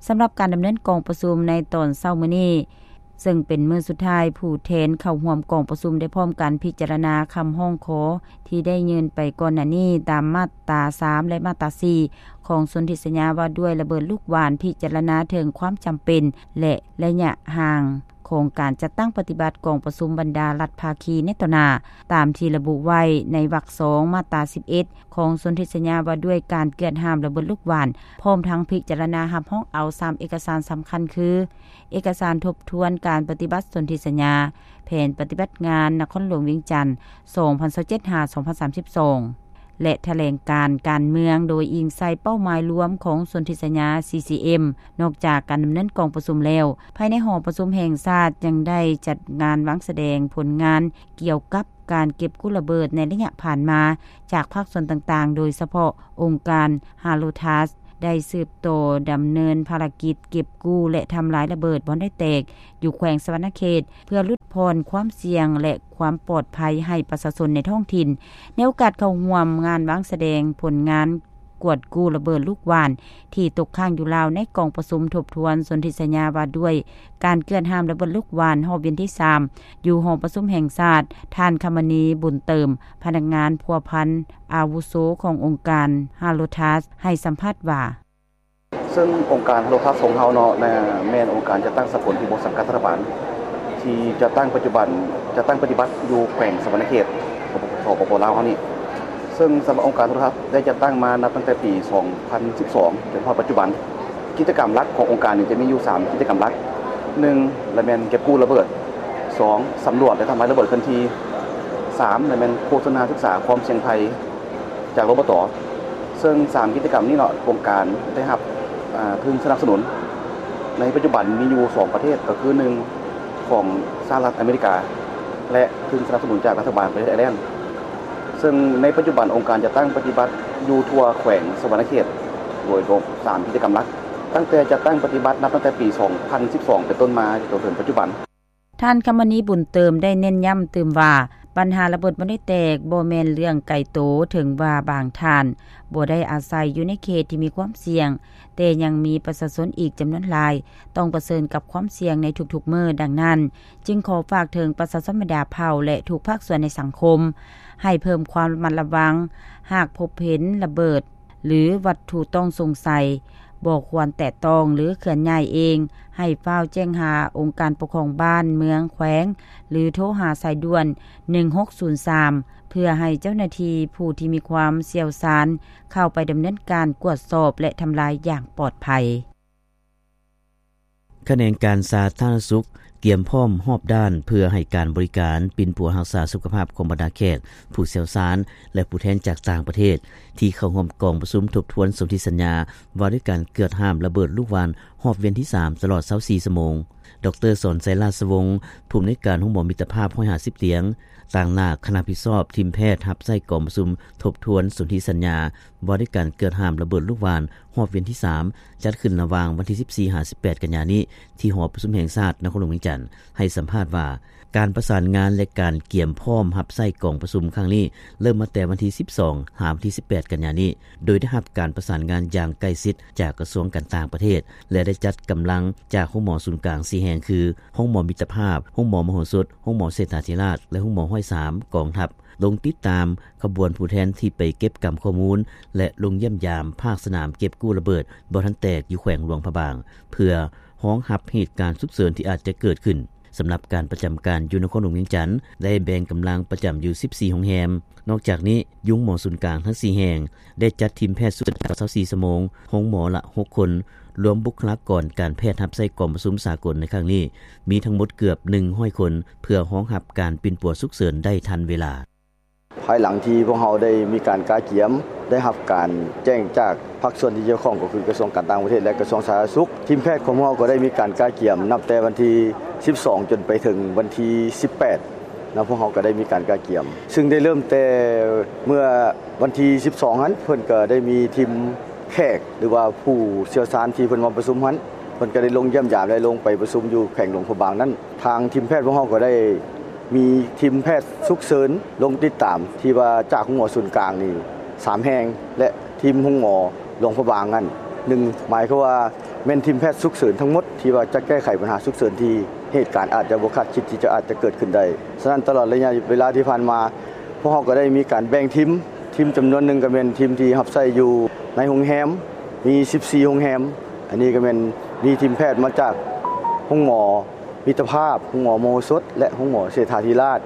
ສຳລັບການດຳເນີນກອງປະຊຸມໃນຕອນເຊົ້າມື້ນີ້, ເຊິ່ງເປັນມື້ສຸດທ້າຍ, ຜູ້ແທນເຂົ້າຮ່ວມກອງປະຊຸມໄດ້ພ້ອມກັນພິຈາລະນາຄຳຮ້ອງຂໍທີ່ໄດ້ຍື່ນໄປກ່ອນໜ້ານີ້ຕາມມາດຕາສາມ ແລະ ມາດຕາສີ່ ຂອງສົນທິສັນຍາວ່າດ້ວຍລະເບີດລູກຫວ່ານ, ພິຈາລະນາເຖິງຄວາມຈຳເປັນ ແລະ ໄລຍະຫ່າງຂອງການຈັດຕັ້ງປະຕິບັດກອງປະຊຸມບັນດາລັດພາຄີໃນຕໍ່ໜ້າ, ຕາມທີ່ລະບຸໄວ້ໃນວັກສອງ ມາດຕາສິບເອັດ ຂອງສົນທິສັນຍາວ່າດ້ວຍການເກືອດຫ້າມລະເບີດລູກຫວ່ານ, ພ້ອມທັງພິຈາລະນາຮັບຮອງເອົາສາມເອກະສານສຳຄັນຄື ເອກະສານທົບທວນການປະຕິບັດສົນທິສັນຍາ, ແຜນປະຕິບັດງານນະຄອນຫຼວງວຽງຈັນ ສອງພັນຊາວເຈັດ ຫາ ສອງພັນສາມສິບສອງ ແລະ ຖະແຫຼງການການເມືອງ ໂດຍອີງໃສ່ເປົ້າໝາຍລວມຂອງສົນທິສັນຍາ ຊີຊີເອັມ. ນອກຈາກການດຳເນີນກອງປະຊຸມແລ້ວ, ພາຍໃນຫໍປະຊຸມແຫ່ງຊາດຍັງໄດ້ຈັດງານວາງສະແດງຜົນງານກ່ຽວກັບການເກັບກູ້ລະເບີດໃນໄລຍະຜ່ານມາຈາກພາກສ່ວນຕ່າງໆ, ໂດຍສະເພາະອົງການ Halo Task ໄດ້ສືບຕໍ່ດຳເນີນພາລະກິດເກັບກູ້ ແລະ ທຳລາຍລະເບີດບໍ່ໄດ້ແຕກຢູ່ແຂວງສະຫວັນນະເຂດ ເພື່ອຫຼຸດຜ່ອນຄວາມສ່ຽງ ແລະ ຄວາມປອດໄພໃຫ້ປະຊາຊົນໃນທ້ອງຖິ່ນ. ໃນໂອກາດເຂົ້າຮ່ວມງານວາງສະແດງຜົນງານ ກວດກູ້ລະເບີດລູກຫວ່ານ ທີ່ຕົກຄ້າງຢູ່ລາວ ໃນກອງປະຊຸມທົບທວນສົນທິສັນຍາວ່າດ້ວຍການເກືອດຫ້າມລະເບີດລູກຫວ່ານ ຮອບວຽນທີສາມ ຢູ່ຫໍປະຊຸມແຫ່ງຊາດ. ທ່ານ ຄຳມະນີ ບຸນເຕີມ ພະນັກງານພົວພັນອາວຸໂສຂອງອົງການ Halotas ໃຫ້ສຳພາດວ່າ: ເຊິ່ງອົງການ Halotas ຂອງເຮົາເນາະ ແມ່ນອົງການຈັດຕັ້ງສາກົນທີ່ບໍ່ສັງກັດລັດຖະບານ ທີ່ຈັດຕັ້ງປັດຈຸບັນ ຈັດຕັ້ງປະຕິບັດຢູ່ແຂວງສະຫວັນນະເຂດ ສປປ ລາວເຮົານີ້. ເຊິ່ງສຳລັບອົງການ Halotas ໄດ້ຈັດຕັ້ງມານັບຕັ້ງແຕ່ປີສອງພັນສິບສອງ ຈົນຮອດປັດຈຸບັນ. ກິດຈະກຳຫຼັກຂອງອົງການນີ້ຈະມີຢູ່ສາມກິດຈະກຳຫຼັກ. ໜຶ່ງ ລະແມ່ນເກັບກູ້ລະເບີດ, ສອງ ສຳຫຼວດ ແລະ ທຳລາຍລະເບີດເຄື່ອນທີ່, ສາມ ລະແມ່ນໂຄສະນາສຶກສາຄວາມສ່ຽງໄພຈາກ ລບຕ. ເຊິ່ງສາມກິດຈະກຳນີ້ເນາະ ອົງການໄດ້ຮັບ ອາ ທຶນສະໜັບສະໜູນ ໃນປັດຈຸບັນມີຢູ່ສອງປະເທດ ກໍຄື ໜຶ່ງ ຂອງສະຫະລັດອາເມລິກາ ແລະ ທຶນສະໜັບສະໜູນຈາກລັດຖະບານປະເທດໄອແລນ. ເຊິ່ງໃນປັດຈຸບັນອົງການຈັດຕັ້ງປະຕິບັດຢູ່ທົ່ວແຂວງສະຫວັນນະເຂດ ໂດຍລວມສາມກິດຈະກຳຫຼັກ ຕັ້ງແຕ່ຈັດຕັ້ງປະຕິບັດນັບຕັ້ງແຕ່ປີສອງພັນສິບສອງເປັນຕົ້ນມາ ຈົນເຖິງປັດຈຸບັນ. ທ່ານ ຄຳມະນີ ບຸນເຕີມ ໄດ້ເນັ້ນຢ້ຳຕື່ມວ່າ ບັນຫາລະເບີດບໍ່ໄດ້ແຕກ ບໍ່ແມ່ນເລື່ອງໄກໂຕ, ເຖິງວ່າບາງທ່ານບໍ່ໄດ້ອາໄສຢູ່ໃນເຂດທີ່ມີຄວາມສ່ຽງ, ແຕ່ຍັງມີປະຊາຊົນອີກຈຳນວນຫຼາຍ ຕ້ອງປະເຊີນກັບຄວາມສ່ຽງໃນທຸກໆມື້. ດັ່ງນັ້ນ, ຈຶ່ງຂໍຝາກເຖິງປະຊາຊົນບັນດາເຜົ່າ ແລະ ທຸກພາກສ່ວນໃນສັງຄົມ ໃຫ້ເພີ່ມຄວາມລະມັດລະວັງ, ຫາກພົບເຫັນລະເບີດ ຫຼື ວັດຖຸຕ້ອງສົງໄສ ບໍ່ຄວນແຕະຕ້ອງ ຫຼື ເຄື່ອນຍ້າຍເອງ, ໃຫ້ຟ້າວແຈ້ງຫາອົງການປົກຄອງບ້ານ, ເມືອງ, ແຂວງ ຫຼື ໂທຫາສາຍດ່ວນ ໜຶ່ງຫົກສູນສາມ ເພື່ອໃຫ້ເຈົ້າໜ້າທີ່ຜູ້ທີ່ມີຄວາມຊ່ຽວຊານ ເຂົ້າໄປດຳເນີນການກວດສອບ ແລະ ທຳລາຍຢ່າງປອດໄພ. ຂະແໜງການສາທາລະນະສຸກກຽມພ້ອມຮອບດ້ານ ເພື່ອໃຫ້ການບໍລິການປິ່ນປົວຮັກສາສຸຂະພາບຂອງບັນດາແຂກ, ຜູ້ຊ່ຽວຊານ ແລະ ຜູ້ແທນຈາກຕ່າງປະເທດ ທີ່ເຂົ້າຮ່ວມກອງປະຊຸມທົບທວນສົນທິສັນຍາ ວ່າດ້ວຍການເກືອດຫ້າມລະເບີດລູກຫວ່ານ ຮອບວຽນທີສາມ ຕະຫຼອດຊາວສີ່ຊົ່ວໂມງ. ດຣ ສອນໄຊ ລາຊະວົງ ຜູ້ອຳນວຍການໂຮງໝໍມິດຕະພາບ ຮ້ອຍຫ້າສິບຕຽງ ຕາງໜ້າຄະນະຜິດຊອບທີມແພດຮັບໃຊ້ກອງປະຊຸມທົບທວນສົນທິສັນຍາ ວ່າດ້ວຍການເກືອດຫ້າມລະເບີດລູກຫວ່ານ ຮອບວຽນທີສາມ ຈັດຂຶ້ນລະຫວ່າງວັນທີສິບສີ່ ຫາ ສິບແປດ ກັນຍານີ້ ທີ່ຫໍປະຊຸມແຫ່ງຊາດ ນະຄອນຫຼວງວຽງຈັນ ໃຫ້ສຳພາດວ່າ ການປະສານງານ ແລະ ການກຽມພ້ອມຮັບໃຊ້ກອງປະຊຸມຄັ້ງນີ້ ເລີ່ມມາແຕ່ວັນທີສິບສອງ ຫາ ວັນທີສິບແປດ ກັນຍານີ້ ໂດຍໄດ້ຮັບການປະສານງານຢ່າງໃກ້ຊິດຈາກກະຊວງການຕ່າງປະເທດ ແລະ ໄດ້ຈັດກຳລັງຈາກໂຮງໝໍສູນກາງສີ່ແຫ່ງ ຄື ໂຮງໝໍມິດຕະພາບ, ໂຮງໝໍມະໂຫສົດ, ໂຮງໝໍເສດຖາທິລາດ ແລະ ໂຮງໝໍຮ້ອຍສາມ ກອງທັບ ລົງຕິດຕາມຂະບວນຜູ້ແທນທີ່ໄປເກັບກຳຂໍ້ມູນ ແລະ ລົງຢ້ຽມຢາມພາກສະໜາມເກັບກູ້ລະເບີດບໍ່ທັນແຕກຢູ່ແຂວງຫຼວງພະບາງ ເພື່ອຮອງຮັບເຫດການສຸກເສີນທີ່ອາດຈະເກີດຂຶ້ນ. ສຳລັບການປະຈຳການຢູ່ນະຄອນຫຼວງວຽງຈັນ ໄດ້ແບ່ງກຳລັງປະຈຳຢູ່ສິບສີ່ໂຮງແຮມ. ນອກຈາກນີ້, ຢູ່ໂຮງໝໍສູນກາງທັງສີ່ແຫ່ງ ໄດ້ຈັດທີມແພດສຸກເສີນຊາວສີ່ຊົ່ວໂມງ, ໂຮງໝໍລະຫົກຄົນ, ລວມບຸກຄະລາກອນການແພດຮັບໃຊ້ກອງປະຊຸມສາກົນໃນຄັ້ງນີ້ ມີທັງໝົດເກືອບໜຶ່ງຮ້ອຍຄົນ ເພື່ອຮອງຮັບການປິ່ນປົວສຸກເສີນໄດ້ທັນເວລາ. ພາຍຫຼັງທີ່ພວກເຮົາໄດ້ມີການກະກຽມ, ໄດ້ຮັບການແຈ້ງຈາກພາກສ່ວນທີ່ກ່ຽວຂ້ອງ ກໍຄືກະຊວງການຕ່າງປະເທດ ແລະ ກະຊວງສາທາລະນະສຸກ, ທີມແພດຂອງພວກເຮົາກໍໄດ້ມີການກະກຽມນັບແຕ່ວັນທີສິບສອງ ຈົນໄປເຖິງວັນທີສິບແປດ ນະ, ພວກເຮົາກໍໄດ້ມີການກະກຽມ ຊຶ່ງໄດ້ເລີ່ມແຕ່ເມື່ອວັນທີສິບສອງຫັ້ນ ເພິ່ນກໍໄດ້ມີທີມແຂກ ຫຼືວ່າຜູ້ຊ່ຽວຊານທີ່ເພິ່ນມາປະຊຸມຫັ້ນ ເພິ່ນກໍໄດ້ລົງຢ້ຽມຢາມ ແລະ ລົງໄປປະຊຸມຢູ່ແຂວງຫຼວງພະບາງນັ້ນ. ທາງທີມແພດພວກເຮົາກໍໄດ້ມີທີມແພດສຸກເສີນລົງຕິດຕາມ ທີ່ວ່າຈາກໂຮງໝໍສູນກາງນີ້ສາມແຫ່ງ ແລະ ທີມໂຮງໝໍຫຼວງພະບາງນັ້ນໜຶ່ງ, ໝາຍຄວາມວ່າແມ່ນທີມແພດສຸກເສີນທັງໝົດ ທີ່ວ່າຈະແກ້ໄຂບັນຫາສຸກເສີນທີ່ເຫດການອາດຈະບໍ່ຄາດຄິດທີ່ຈະອາດຈະເກີດຂຶ້ນໄດ້. ສະນັ້ນ ຕະຫຼອດໄລຍະເວລາທີ່ຜ່ານມາ ພວກເຮົາກໍໄດ້ມີການແບ່ງທີມ, ທີມຈຳນວນໜຶ່ງກໍແມ່ນທີມທີ່ຮັບໃຊ້ຢູ່ໃນໂຮງແຮມ, ມີສິບສີ່ໂຮງແຮມ. ອັນນີ້ກໍແມ່ນມີທີມແພດມາຈາກໂຮງໝໍມິດຕະພາບ, ໂຮງໝໍມະໂຫສົດ ແລະ ໂຮງໝໍເສດຖາທິລາດ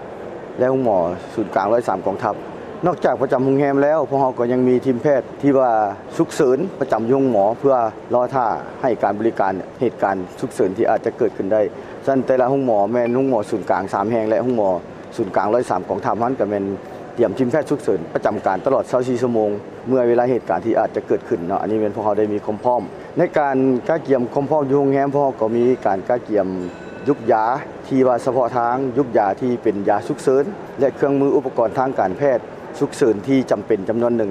ແລະ ໂຮງໝໍສູນກາງຮ້ອຍສາມກອງທັບ. ນອກຈາກປະຈຳໂຮງແຮມແລ້ວ, ພວກເຮົາກໍຍັງມີທີມແພດທີ່ວ່າສຸກເສີນປະຈຳຢູ່ໂຮງໝໍ ເພື່ອລໍຖ້າໃຫ້ການບໍລິການເຫດການສຸກເສີນທີ່ອາດຈະເກີດຂຶ້ນໄດ້. ສະນັ້ນ ແຕ່ລະໂຮງໝໍແມ່ນໂຮງໝໍສູນກາງສາມແຫ່ງ ແລະ ໂຮງໝໍສູນກາງຮ້ອຍສາມກອງທັບຫັ້ນ ກໍແມ່ນຕຽມທີມແພດສຸກເສີນປະຈຳການຕະຫຼອດຊາວສີ່ຊົ່ວໂມງ ເມື່ອເວລາເຫດການທີ່ອາດຈະເກີດຂຶ້ນເນາະ. ອັນນີ້ແມ່ນພວກເຮົາໄດ້ມີຄວາມພ້ອມ. ໃນການກະກຽມຄວາມພ້ອມຢູ່ໂຮງແຮມ, ພວກເຮົາກໍມີການກະກຽມຢຸກຢາທີ່ວ່າສະເພາະທາງ, ຢຸກຢາທີ່ເປັນຢາສຸກເສີນ ແລະ ເຄື່ອງມືອຸປະກອນທາງການແພດສຸກເສີນທີ່ຈຳເປັນຈຳນວນໜຶ່ງ.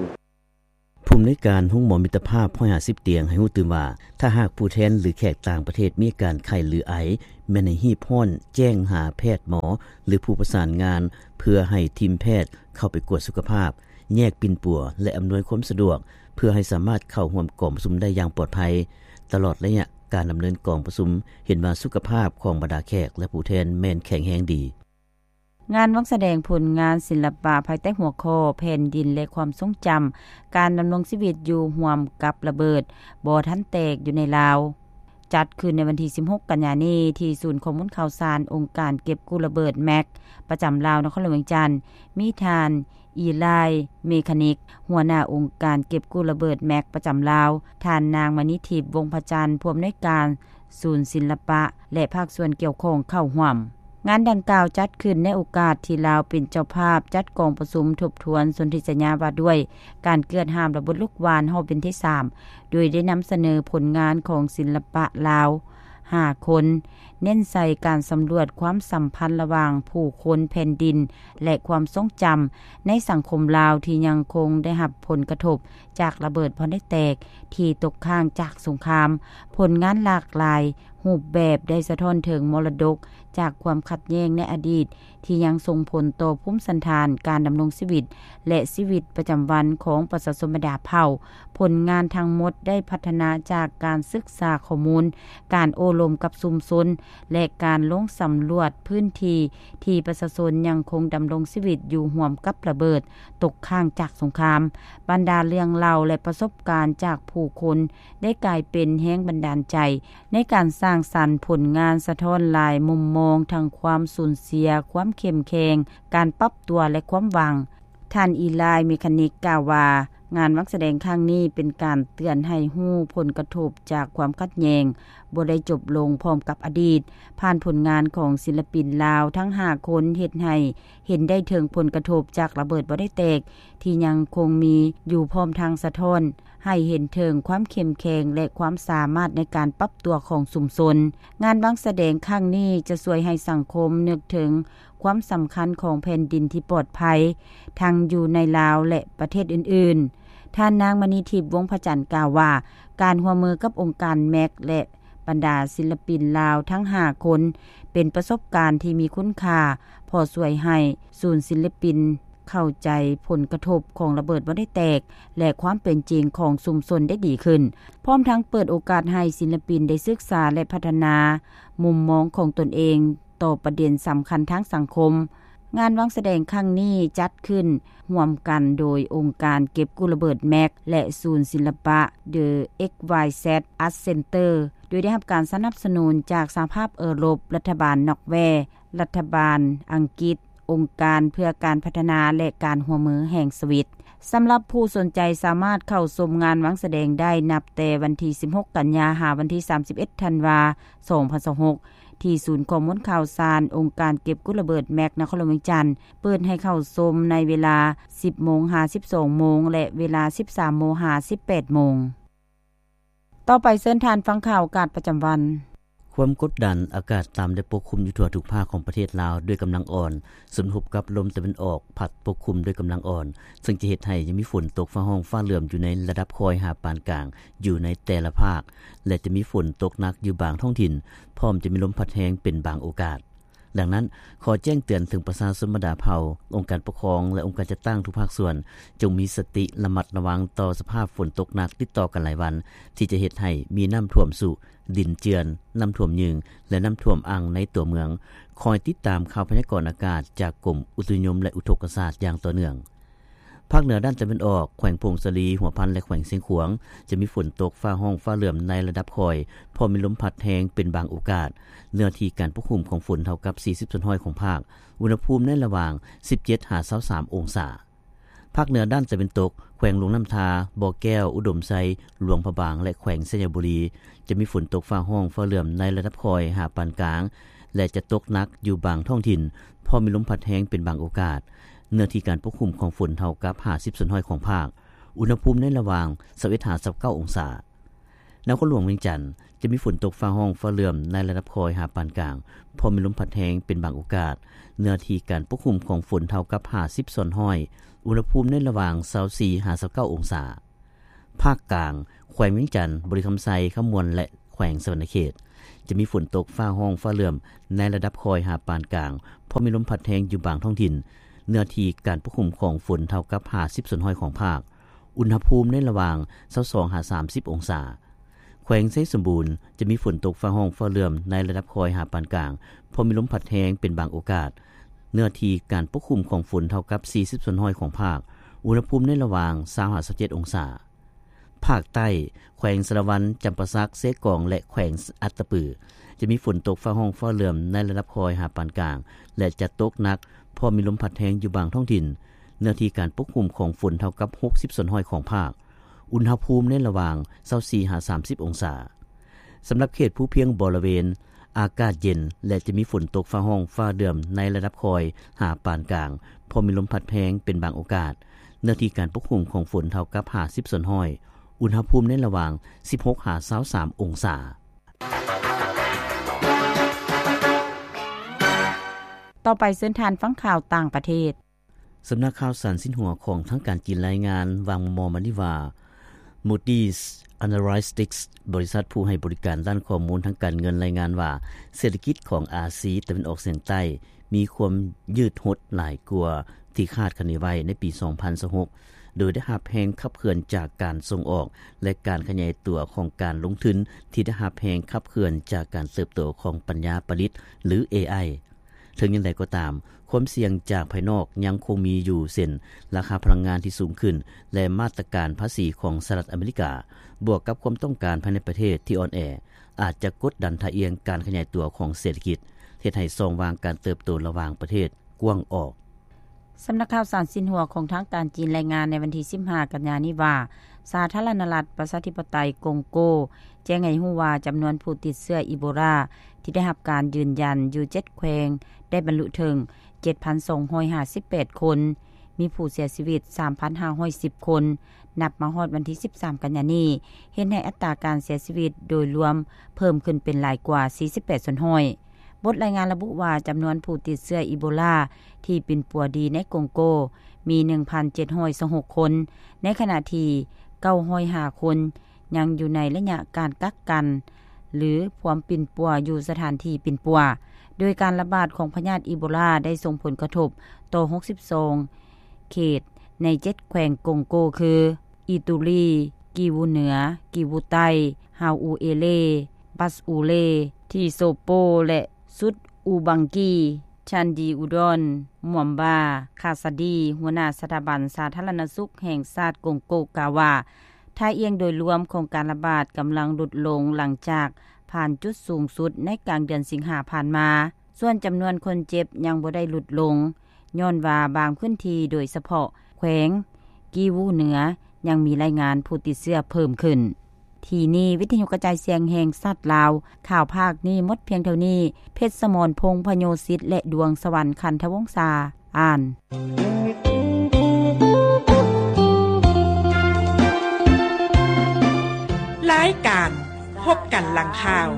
ຜູ້ອຳນວຍການໂຮງໝໍມິດຕະພາບຮ້ອຍຫ້າສິບຕຽງໃຫ້ຮູ້ຕື່ມວ່າ ຖ້າຫາກຜູ້ແທນ ຫຼື ແຂກຕ່າງປະເທດມີອາການໄຂ້ ຫຼື ໄອ, ແມ່ນໃຫ້ຮີບຮ້ອນແຈ້ງຫາແພດໝໍ ຫຼື ຜູ້ປະສານງານ ເພື່ອໃຫ້ທີມແພດເຂົ້າໄປກວດສຸຂະພາບ, ແຍກປິ່ນປົວ ແລະ ອຳນວຍຄວາມສະດວກ ເພື່ອໃຫ້ສາມາດເຂົ້າຮ່ວມກອງປະຊຸມໄດ້ຢ່າງປອດໄພ. ຕະຫຼອດໄລຍະການດຳເນີນກອງປະຊຸມ ເຫັນວ່າສຸຂະພາບຂອງບັນດາແຂກ ແລະ ຜູ້ແທນແມ່ນແຂງແຮງດີ. ງານວັງສະແດງຜົນງານສິລະປະພາຍໃຕ້ຫົວຂໍ້ ແຜ່ນດິນ ແລະ ຄວາມຊົງຈຳ ການດຳລົງຊີວິດຢູ່ຮ່ວມກັບລະເບີດບໍ່ທັນແຕກຢູ່ໃນລາວ ຈັດຂຶ້ນໃນວັນທີສິບຫົກ ກັນຍານີ້ ທີ່ສູນຂໍ້ມູນຂ່າວສານອົງການເກັບກູ້ລະເບີດ ແມັກ ປະຈຳລາວ ນະຄອນຫຼວງວຽງຈັນ. ມີທ່ານ ອີລາຍ ເມຄານິກ ຫົວໜ້າອົງການເກັບກູ້ລະເບີດ ແມັກ ປະຈຳລາວ, ທ່ານນາງ ມະນີທິບ ວົງພະຈັນ ຜູ້ອຳນວຍການສູນສິລະປະ ແລະ ພາກສ່ວນກ່ຽວຂ້ອງເຂົ້າຮ່ວມ. ງານດັ່ງກ່າວຈັດຂຶ້ນໃນໂອກາດທີ່ລາວເປັນເຈົ້າພາບຈັດກອງປະຊຸມທົບທວນສົນທິສັນຍາວ່າດ້ວຍການເກືອດຫ້າມລະບົດລູກຫວ່ານຮອບເວັນທີສາມ ໂດຍໄດ້ນຳສະເໜີຜົນງານຂອງສິລະປະລາວຫ້າຄົນ, ເນັ້ນໃສ່ການສຳຫຼວດຄວາມສຳພັນລະຫວ່າງຜູ້ຄົນ, ແຜ່ນດິນ ແລະ ຄວາມຊົງຈຳໃນສັງຄົມລາວທີ່ຍັງຄົງໄດ້ຮັບຜົນກະທົບຈາກລະເບີດບໍ່ໄດ້ແຕກທີ່ຕົກຄ້າງຈາກສົງຄາມ. ຜົນງານຫຼາກຫຼາຍຮູບແບບໄດ້ສະທ້ອນເຖິງມໍລະດົກຈາກຄວາມຂັດແຍ່ງໃນອະດີດ ທີ່ຍັງສົ່ງຜົນຕໍ່ພູມສັນຖານການດຳລົງຊີວິດ ແລະ ຊີວິດປະຈຳວັນຂອງປະຊາຊົນບັນດາເຜົ່າ. ຜົນງານທັງໝົດໄດ້ພັດທະນາຈາກການສຶກສາຂໍ້ມູນ, ການໂອ້ລົມກັບຊຸມຊົນ ແລະ ການລົງສຳຫຼວດພື້ນທີ່ທີ່ປະຊາຊົນຍັງຄົງດຳລົງຊີວິດຢູ່ຮ່ວມກັບລະເບີດຕົກຄ້າງຈາກສົງຄາມ. ບັນດາເລື່ອງເລົ່າ ແລະ ປະສົບການຈາກຜູ້ຄົນໄດ້ກາຍເປັນແຮງບັນດານໃຈ ໃນການສ້າງສັນຜົນງານສະທ້ອນຫຼາຍມຸມມອງ ທັງຄວາມສູນເສຍ, ຄວາມເຂັ້ມແຂງ, ການປັບຕົວ ແລະ ຄວາມຫວັງ. ທ່ານ ອີລາຍ ເມຄານິກ ກ່າວວ່າ, ງານວັງສະແດງຄັ້ງນີ້ເປັນການເຕືອນໃຫ້ຮູ້ຜົນກະທົບຈາກຄວາມຂັດແຍ່ງບໍ່ໄດ້ຈົບລົງພ້ອມກັບອະດີດ. ຜ່ານຜົນງານຂອງສິລະປິນລາວທັງຫ້າຄົນ ເຮັດໃຫ້ເຫັນໄດ້ເຖິງຜົນກະທົບຈາກລະເບີດບໍ່ໄດ້ແຕກທີ່ຍັງຄົງມີຢູ່, ພ້ອມທັງສະທ້ອນ ໃຫ້ເຫັນເຖິງຄວາມເຂັ້ມແຂງ ແລະ ຄວາມສາມາດໃນການປັບຕົວຂອງຊຸມຊົນ. ງານວັງສະແດງຄັ້ງນີ້ຈະຊ່ວຍໃຫ້ສັງຄົມນຶກເຖິງຄວາມສຳຄັນຂອງແຜ່ນດິນທີ່ປອດໄພ ທັງຢູ່ໃນລາວ ແລະ ປະເທດອື່ນໆ. ທ່ານນາງ ມະນີທິບ ວົງພະຈັນ ກ່າວວ່າ, ການຮ່ວມມືກັບອົງການ ແມັກ ແລະ ບັນດາສິລະປິນລາວທັງຫ້າຄົນ ເປັນປະສົບການທີ່ມີຄຸນຄ່າ, ເພາະຊ່ວຍໃຫ້ສູນສິລະປິນ ເຂົ້າໃຈຜົນກະທົບຂອງລະເບີດບໍ່ໄດ້ແຕກ ແລະ ຄວາມເປັນຈິງຂອງຊຸມຊົນໄດ້ດີຂຶ້ນ, ພ້ອມທັງເປີດໂອກາດໃຫ້ສິລະປິນໄດ້ສຶກສາ ແລະ ພັດທະນາມຸມມອງຂອງຕົນເອງຕໍ່ປະເດັນສຳຄັນທາງສັງຄົມ. ງານວັງສະແດງຄັ້ງນີ້ຈັດຂຶ້ນຮ່ວມກັນໂດຍອົງການເກັບກູ້ລະເບີດ ແມັກ ແລະ ສູນສິລະປະ The X Y Z Art Center ໂດຍໄດ້ຮັບການສະໜັບສະໜູນຈາກສະຫະພາບເອີຣົບ, ລັດຖະບານນອກແວ, ລັດຖະບານອັງກິດ, ອົງການເພື່ອການພັດທະນາ ແລະ ການຮ່ວມມືແຫ່ງສະວິດ. ສຳລັບຜູ້ສົນໃຈສາມາດເຂົ້າຊົມງານວັງສະແດງໄດ້ນັບແຕ່ວັນທີສິບຫົກ ກັນຍາ ຫາວັນທີສາມສິບເອັດ ທັນວາ ສອງພັນຊາວຫົກ ທີ່ສູນຂໍ້ມູນຂ່າວສານອົງການເກັບກູ້ລະເບີດ ແມັກ ນະຄອນຫຼວງວຽງຈັນ ເປີດໃຫ້ເຂົ້າຊົມໃນເວລາ ສິບໂມງ ຫາ ສິບສອງໂມງ ແລະ ເວລາ ສິບສາມໂມງ ຫາ ສິບແປດໂມງ. ຕໍ່ໄປເຊີນທ່ານຟັງຂ່າວອາກາດປະຈຳວັນ. ຄວາມກົດດັນອາກາດຕ່ຳໄດ້ປົກຄຸມຢູ່ທົ່ວທຸກພາກຂອງປະເທດລາວດ້ວຍກຳລັງອ່ອນ, ສົມທົບກັບລົມຕາເວັນອອກພັດປົກຄຸມດ້ວຍກຳລັງອ່ອນ, ເຊິ່ງຈະເຮັດໃຫ້ຍັງມີຝົນຕົກຟ້າຮ້ອງຟ້າເຫຼື້ອມຢູ່ໃນລະດັບຄ່ອຍຫາປານກາງຢູ່ໃນແຕ່ລະພາກ ແລະ ຈະມີຝົນຕົກໜັກຢູ່ບາງທ້ອງຖິ່ນ, ພ້ອມຈະມີລົມພັດແຮງເປັນບາງໂອກາດ. ດັ່ງນັ້ນ, ຂໍແຈ້ງເຕືອນເຖິງປະຊາຊົນບັນດາເຜົ່າ, ອົງການປົກຄອງ ແລະ ອົງການຈັດຕັ້ງທຸກພາກສ່ວນ, ຈົ່ງມີສະຕິລະມັດລະວັງຕໍ່ສະພາບຝົນຕົກໜັກຕິດຕໍ່ກັນຫຼາຍວັນ, ທີ່ຈະເຮັດໃຫ້ມີນ້ຳຖ້ວມຊຸ, ດິນເຈື່ອນ, ນ້ຳຖ້ວມຍືງ ແລະ ນ້ຳຖ້ວມອັ່ງໃນຕົວເມືອງ. ຄອຍຕິດຕາມຂ່າວພະຍາກອນອາກາດຈາກກົມອຸຕຸນິຍົມ ແລະ ອຸທົກກະສາດຢ່າງຕໍ່ເນື່ອງ. ພາກເໜືອດ້ານຕາເວັນອອກ, ແຂວງຜົ້ງສາລີ, ຫົວພັນ ແລະ ແຂວງຊຽງຂວາງ ຈະມີຝົນຕົກຟ້າຮ້ອງຟ້າເຫຼື້ອມໃນລະດັບຄ່ອຍ, ພ້ອມມີລົມພັດແຮງເປັນບາງໂອກາດ. ເນື້ອທີ່ການປົກຄຸມຂອງຝົນເທົ່າກັບ ສີ່ສິບສ່ວນຮ້ອຍຂອງພາກ. ອຸນຫະພູມໃນລະຫວ່າງ ສິບເຈັດ ຫາ ຊາວສາມ ອົງສາ. ພາກເໜືອດ້ານຕາເວັນຕົກ, ແຂວງຫຼວງນ້ຳທາ, ບໍ່ແກ້ວ, ອຸດົມໄຊ, ຫຼວງພະບາງ ແລະ ແຂວງໄຊຍະບູລີ ຈະມີຝົນຕົກຟ້າຮ້ອງຟ້າເຫຼື້ອມໃນລະດັບຄ່ອຍຫາປານກາງ ແລະ ຈະຕົກໜັກຢູ່ບາງທ້ອງຖິ່ນ, ພ້ອມມີລົມພັດແຮງເປັນບາງໂອກາດ. ເນື້ອທີ່ການປົກຄຸມຂອງຝົນເທົ່າກັບ ຫ້າສິບສ່ວນຮ້ອຍຂອງພາກ. ອຸນຫະພູມໃນລະຫວ່າງ ຊາວເອັດ ຫາ ຊາວເກົ້າ ອົງສາ. ນະຄອນຫຼວງວຽງຈັນ ຈະມີຝົນຕົກຟ້າຮ້ອງຟ້າເຫຼື້ອມໃນລະດັບຄ່ອຍຫາປານກາງ, ພ້ອມມີລົມພັດແຮງເປັນບາງໂອກາດ. ເນື້ອທີ່ການປົກຄຸມຂອງຝົນເທົ່າກັບ ຫ້າສິບສ່ວນຮ້ອຍ. ອຸນຫະພູມໃນລະຫວ່າງ ຊາວສີ່ ຫາ ຊາວເກົ້າ ອົງສາ. ພາກກາງ, ແຂວງວຽງຈັນ, ບໍລິຄຳໄຊ, ຄຳມ່ວນ ແລະ ແຂວງສະຫວັນນະເຂດ ຈະມີຝົນຕົກຟ້າຮ້ອງຟ້າເຫຼື້ອມໃນລະດັບຄ່ອຍຫາປານກາງ, ພໍມີລົມພັດແຮງຢູ່ບາງທ້ອງຖິ່ນ. ເນື້ອທີ່ການປົກຄຸມຂອງຝົນເທົ່າກັບ ຫ້າສິບສ່ວນຮ້ອຍຂອງພາກ. ອຸນຫະພູມໃນລະຫວ່າງ ຊາວສອງ ຫາ ສາມສິບ ອົງສາ. ແຂວງໄຊສົມບູນ ຈະມີຝົນຕົກຟ້າຮ້ອງຟ້າເຫຼື່ອມໃນລະດັບຄ່ອຍຫາປານກາງ, ເພາະມີລົມພັດແຮງເປັນບາງໂອກາດ. ເນື້ອທີ່ການປົກຄຸມຂອງຝົນເທົ່າກັບ ສີ່ສິບສ່ວນຮ້ອຍຂອງພາກ. ອຸນຫະພູມໃນລະຫວ່າງ ຊາວ ຫາ ຊາວເຈັດ ອົງສາ. ພາກໃຕ້, ແຂວງສາລະວັນ, ຈຳປາສັກ, ເຊກອງ ແລະ ແຂວງອັດຕະປື ຈະມີຝົນຕົກຟ້າຮ້ອງຟ້າເຫຼື່ອມໃນລະດັບຄ່ອຍຫາປານກາງ ແລະ ຈະຕົກໜັກ ເພາະມີລົມພັດແຮງຢູ່ບາງທ້ອງຖິ່ນ. ເນື້ອທີ່ການປົກຄຸມຂອງຝົນເທົ່າກັບ ຫົກສິບສ່ວນຮ້ອຍຂອງພາກ. ອຸນຫະພູມໃນລະຫວ່າງ ຊາວສີ່ ຫາ ສາມສິບ ອົງສາ. ສຳລັບເຂດພູພຽງບໍລະເວນ ອາກາດເຢັນ ແລະ ຈະມີຝົນຕົກຟ້າຮ້ອງຟ້າເຫຼື່ອມໃນລະດັບຄ່ອຍຫາປານກາງ, ເພາະມີລົມພັດແຮງເປັນບາງໂອກາດ. ເນື້ອທີ່ການປົກຄຸມຂອງຝົນເທົ່າກັບ ຫ້າສິບສ່ວນຮ້ອຍ. ອຸນຫະພູມໃນລະຫວ່າງ ສິບຫົກ ຫາ ຊາວສາມ ອົງສາ. ຕໍ່ໄປເຊີນທ່ານຟັງຂ່າວຕ່າງປະເທດ. ສຳນັກຂ່າວສານຊິນຫົວຂອງທາງການຈີນລາຍງານວ່າງມໍ່ໆມານີ້ວ່າ Moody's Analytics ບໍລິສັດຜູ້ໃຫ້ບໍລິການດ້ານຂໍ້ມູນທາງການເງິນລາຍງານວ່າ ເສດຖະກິດຂອງອາຊີຕາເວັນອອກສຽງໃຕ້ມີຄວາມຍືດຫົດຫຼາຍກວ່າທີ່ຄາດຄະເນໄວ້ໃນປີສອງພັນຊາວຫົກ ໂດຍໄດ້ຮັບແຮງຂັບເຄື່ອນຈາກການສົ່ງອອກ ແລະ ການຂະຫຍາຍຕົວຂອງການລົງທຶນທີ່ໄດ້ຮັບແຮງຂັບເຄື່ອນຈາກການເຕີບໂຕຂອງປັນຍາປະດິດ ຫຼື ເອໄອ. ເຖິງຢ່າງໃດກໍຕາມ, ຄວາມສ່ຽງຈາກພາຍນອກຍັງຄົງມີຢູ່ ເຊັ່ນ ລາຄາພະລັງງານທີ່ສູງຂຶ້ນ ແລະ ມາດຕະການພາສີຂອງສະຫະລັດອາເມລິກາ ບວກກັບຄວາມຕ້ອງການພາຍໃນປະເທດທີ່ອ່ອນແອ ອາດຈະກົດດັນທ່າອ່ຽງການຂະຫຍາຍຕົວຂອງເສດຖະກິດ, ເຮັດໃຫ້ຊ່ອງວ່າງການເຕີບໂຕລະຫວ່າງປະເທດກວ້າງອອກ. ສຳນັກຂ່າວສານຊິນຫົວຂອງທາງການຈີນລາຍງານໃນວັນທີສິບຫ້າກັນຍານີ້ວ່າ ສາທາລະນະລັດປະຊາທິປະໄຕກົງໂກ ແຈ້ງໃຫ້ຮູ້ວ່າຈຳນວນຜູ້ຕິດເຊື້ອອີໂບລາທີ່ໄດ້ຮັບການຢືນຢັນຢູ່ເຈັດແຂວງ ໄດ້ບັນລຸເຖິງເຈັດພັນສອງຮ້ອຍຫ້າສິບແປດຄົນ, ມີຜູ້ເສຍຊີວິດສາມພັນຫ້າຮ້ອຍສິບຄົນ. ນັບມາຮອດວັນທີສິບສາມກັນຍານີ້ ເຮັດໃຫ້ອັດຕາການເສຍຊີວິດໂດຍລວມເພີ່ມຂຶ້ນເປັນຫຼາຍກວ່າສີ່ສິບແປດສ່ວນຮ້ອຍ. ບົດລາຍງານລະບຸວ່າ ຈຳນວນຜູ້ຕິດເຊື້ອອີໂບລາທີ່ປິ່ນປົວດີໃນກົງໂກ ມີໜຶ່ງພັນເຈັດຮ້ອຍຊາວຫົກຄົນ, ໃນຂະນະທີ່ເກົ້າຮ້ອຍຫ້າຄົນຍັງຢູ່ໃນໄລຍະການກັກກັນ ຫຼື ພວມປິ່ນປົວຢູ່ສະຖານທີ່ປິ່ນປົວ, ໂດຍການລະບາດຂອງພະຍາດອີໂບລາໄດ້ສົ່ງຜົນກະທົບຕໍ່ຫົກສິບສອງເຂດໃນເຈັດແຂວງກົງໂກ ຄື ອີຕູລີ, ກີວູເໜືອ, ກີວູໃຕ້, ຮາວອູເອເລ, ບັດອູເລ, ທີໂຊໂປ ແລະ ຊຸດອູບັງກີ. ທ່ານ ດີອູດອນ ມວມບາ ຄາຊາດີ ຫົວໜ້າສະຖາບັນສາທາລະນະສຸກແຫ່ງຊາດກົງໂກ ກ່າວວ່າ ທ່າອ່ຽງໂດຍລວມຂອງການລະບາດກຳລັງຫຼຸດລົງ ຫຼັງຈາກຜ່ານຈຸດສູງສຸດໃນກາງເດືອນສິງຫາຜ່ານມາ. ສ່ວນຈຳນວນຄົນເຈັບຍັງບໍ່ໄດ້ຫຼຸດລົງ ຍ້ອນວ່າບາງພື້ນທີ່ ໂດຍສະເພາະແຂວງກີວູເໜືອ ຍັງມີລາຍງານຜູ້ຕິດເຊື້ອເພີ່ມຂຶ້ນ. ທີ່ນີ້ ວິທະຍຸກະຈາຍສຽງແຫ່ງຊາດລາວ, ຂ່າວພາກນີ້ໝົດພຽງເທົ່ານີ້. ເພັດສະໝອນ ພົງພະໂຍສິດ ແລະ ດວງສະຫວັນ ຄັນທະວົງສາ ອ່ານ. ລາຍການພົບກັນຫຼັງຂ່າວ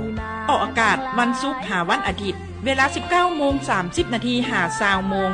ອອກອາກາດວັນສຸກຫາວັນອາທິດ ເວລາສິບເກົ້າໂມງສາມສິບນາທີ ຫາຊາວໂມງ.